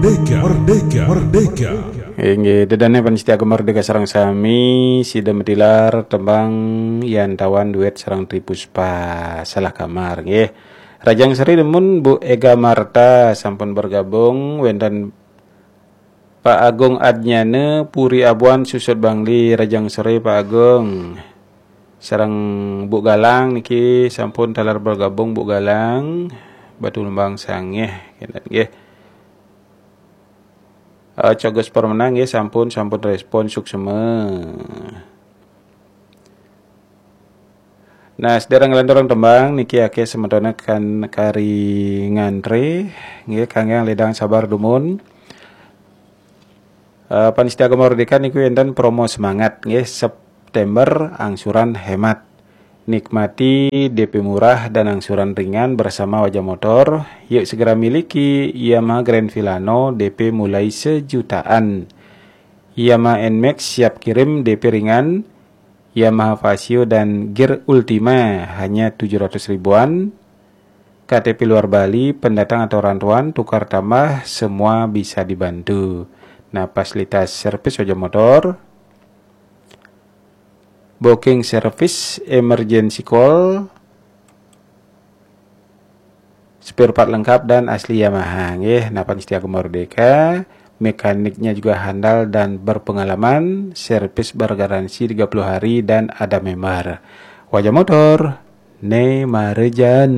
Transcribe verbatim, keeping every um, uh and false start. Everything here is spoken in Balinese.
Merdeka, merdeka, merdeka. Inggih, ida dané pamiarsa Gema Merdeka sareng sami, sida matilar tembang Yan Tawan duet sareng Tri Puspa, Salah Kamar, nggih. Rajang Sri dumun Bu Ega Marta sampun bergabung, wénten Pak Agung Adnyana, Puri Abuan, Susut Bangli, Rajang Sri Pak Agung. Sareng Bu Galang niki sampun taler bergabung, Bu Galang, Batu Lembang Sangeh, kénten nggih. Eh, Cogos Permenang nggih sampun, sampun respon, suksma. Nah, sedherek nglanturang tembang niki akéh semetoné kan kari ngantré, nggih, kanggé ledang sabar dumun. Eh, pamiarsa Gema Merdeka niku wénten promo semangat nggih, September angsuran hemat. Nikmati D P murah dan angsuran ringan bersama Wajah Motor. Yuk segera miliki Yamaha Grand Filano D P mulai sejutaan. Yamaha Nmax siap kirim D P ringan. Yamaha Fazzio dan Gear Ultima hanya tujuh ratus ribuan. K T P luar Bali, pendatang atau rantauan, tukar tambah, semua bisa dibantu. Nah, fasilitas servis Wajah Motor, booking service, emergency call, spare part lengkap dan asli Yamaha, nggih. Nah, pamiarsa Gema Merdeka, mekaniknya juga handal dan berpengalaman, servis bergaransi tiga puluh hari dan ada member. Wajah Motor, né marejan.